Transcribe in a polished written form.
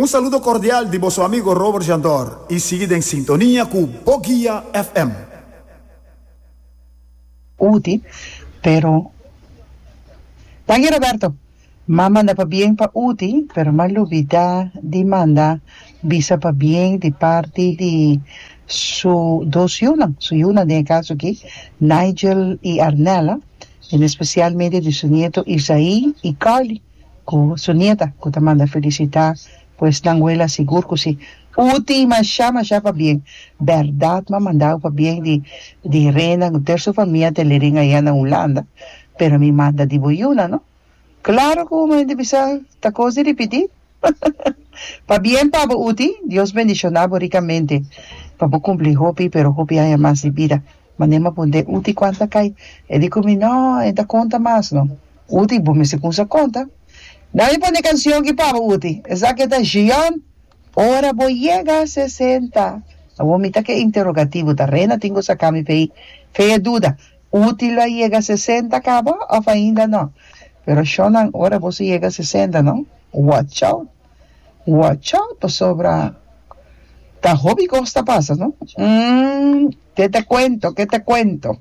Un saludo cordial di boso amigo Robert Jandor y sigui den sintonia cu Boguia FM. Uti, pero Danki Roberto. M'a manda pabien pa Uti, pero m'a lubida di manda bisa pabien di parti di su dos yunan, su yunan den e caso aki, Nigel y Arnella, en especialmente di su nieto Isaí y Carly. Ku su nieta ku ta manda felisitá pues nan wela sigur ku si. Uti masha masha pabien. Bèrdat m'a mandau pabien di di Rena ku ter su famia te leren aya na Hulanda pero mi manda di bo yuna no. Klaro ku mi ta bisa ta kos di ripití. Pabien pa bo Uti, Dios bendishoná bo rikamente pa bo kumpli hopi pero hopi aña mas di bida. Manera m'a punta e Uti kuanta kai e di ku mi no e ta konta mas no. Uti, bo mester kumsa konta. Nan mi pone kansion ki pa bo, Uti. Esaki ta Gion, Ora bo yega sesenta. Awor mi ta ke interogativo, ta Rena tin ku saka mi p'ei fe e duda. Uti lo a yega sesenta kaba òf ainda no? Pero shonnan, ora boso yega sesenta no, watch out, watch out pasobra ta hopi kos ta pasa no. Umm, ke te kuento, ke te kuento.